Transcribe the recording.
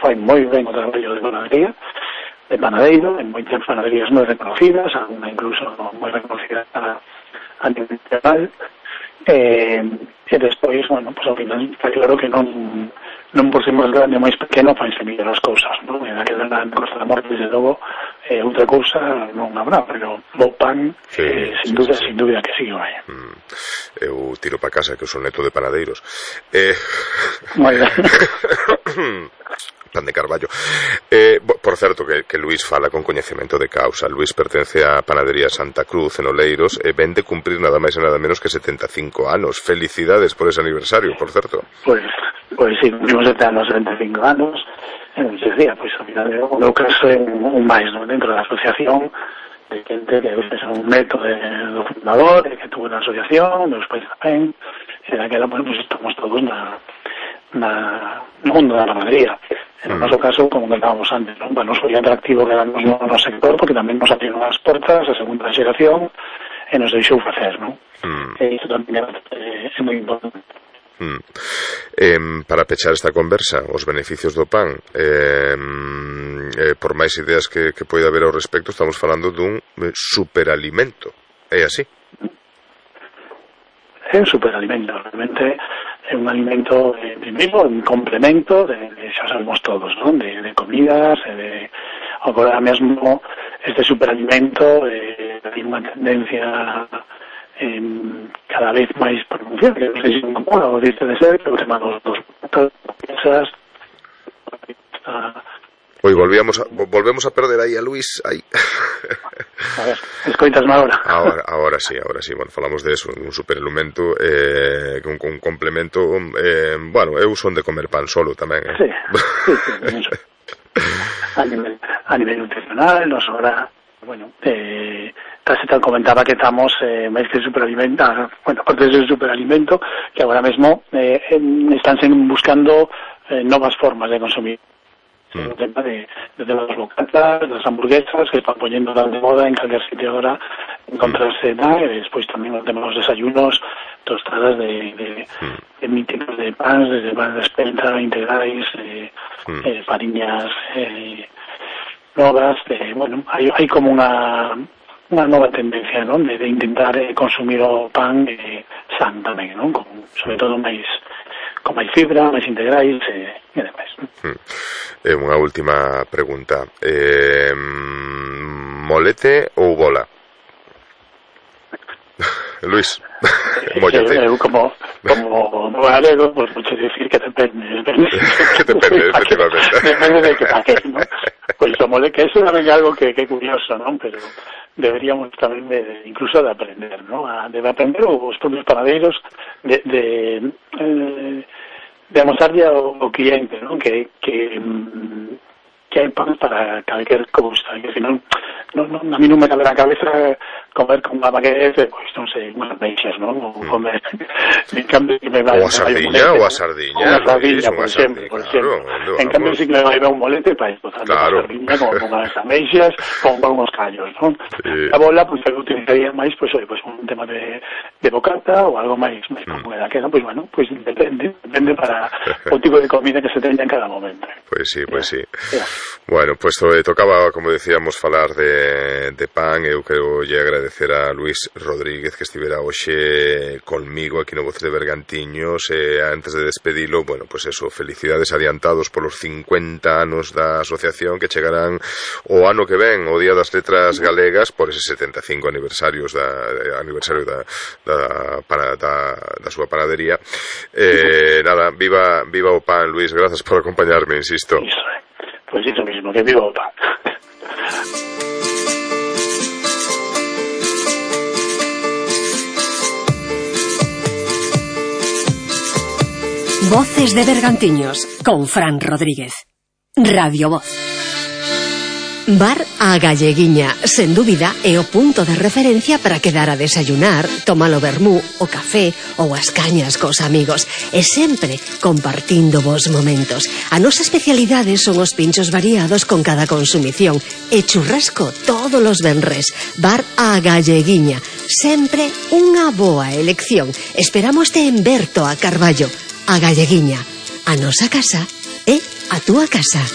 fai moi ben o traballo de panadería, de panadeiro, en moitas panaderías moi reconocidas, alguna incluso moi reconocida a nivel internacional, e despois, bueno, pues ao final está claro que non por ser máis grande ou máis pequeno fanse mellor as cousas, non? En aquela Costa da Morte, desde logo, outra cousa non habrá, pero bo pan, sin dúbida que sí, vai. Eu tiro para casa que eu son neto de panadeiros. Moi ben. Pan de Carballo. Por certo, que Luís fala con coñecemento de causa. Luís pertence á panadería Santa Cruz en Oleiros e ven de cumprir nada máis e nada menos que 75 anos. Felicidades por ese aniversario, por certo. Pois sí, cumprimos este ano 75 anos. Decía, pois, ao final, o meu caso é un máis, non? Dentro da asociación, de xente que é un neto do fundador, que tuvo na asociación, dos pais tamén, e daquela, pues, estamos todos no mundo da panadería. En o noso caso, como comentábamos antes, non? Nos foi atractivo quedarnos no sector porque tamén nos abriron as portas a segunda xeración e nos deixou facer, non? E iso tamén é moi importante. Para pechar esta conversa, os beneficios do pan, por máis ideas que poida haber ao respecto, estamos falando dun superalimento, é así? É un superalimento, realmente é un alimento, primeiro, un complemento xa sabemos todos, non? De comidas, agora mesmo este superalimento ten unha tendencia cada vez máis pronunciada, que non sei se non mola, o dice de ser, pero o tema dos piezas. Oi, volvemos a perder aí a Luís, aí. A ver, escoitasme agora. Ahora sí, bueno, falamos de eso, un superalimento, un complemento, bueno, eu son de comer pan solo tamén, Sí, a nivel nutricional, nos ahora, bueno, casi tal comentaba que estamos máis que superalimento, bueno, aparte de ser superalimento, que agora mesmo están buscando novas formas de consumir. El tema de las bocatas, las hamburguesas, que están poniendo tan de moda en cualquier sitio ahora, encontrarse tal, y después también el tema de los desayunos, tostadas de míticos de pan, desde pan de espelta, integrais, fariñas novas, bueno, hay como una nova tendencia, ¿no? De intentar consumir o pan san tamén, ¿no? Sobre todo con máis fibra, máis integrais e demais. Unha última pregunta. Molete ou bola? Luís, mollete. Eu como galego, pues mucho decir que depende. Que depende, efectivamente. Depende de que paquete, ¿no? Pues o molete, que eso tamén é algo que é curioso, ¿no? Pero deberíamos tamén incluso de aprender, ¿no? De aprender os propios panadeiros de mostrarlle ao cliente, ¿no? Que hai pan para calquer cousa, que se non a mí non me cabe na cabeza comer con unha baguette, pois non sei, unhas meixas, non? Ou comer en cambio que me vai ou a sardiña, por exemplo. En cambio si que me vai un molete para esposar a sardiña con unhas meixas, con unhos callos, non? A bola, pois eu utilizaría máis, pois un tema de bocata ou algo máis como daquela, pois bueno, pois depende para o tipo de comida que se teña en cada momento. Pois sí. Bueno, pues tocaba, como decíamos, falar de pan. Eu quero lle agradecer a Luís Rodríguez que estivera hoxe conmigo aquí no Voces de Bergantiños, e antes de despedilo, bueno, pues eso, felicidades adiantados polos 50 anos da asociación, que chegarán o ano que ven, o Día das Letras Galegas, por ese 75 aniversario da súa panadería. Nada, viva o pan, Luís, grazas por acompañarme, insisto. Pues eso mismo, que viva o pan. Voces de Bergantiños con Fran Rodríguez. Radio Voz. Bar A Galleguiña, sen dúbida, é o punto de referencia para quedar a desayunar, tomar o vermú, o café ou as cañas cos amigos, e sempre compartindo vos momentos. A nosa especialidade son os pinchos variados con cada consumición e churrasco todos os venres. Bar A Galleguiña, sempre unha boa elección. Esperámoste en Berto a Carballo. A Galleguiña, a nosa casa é a túa casa.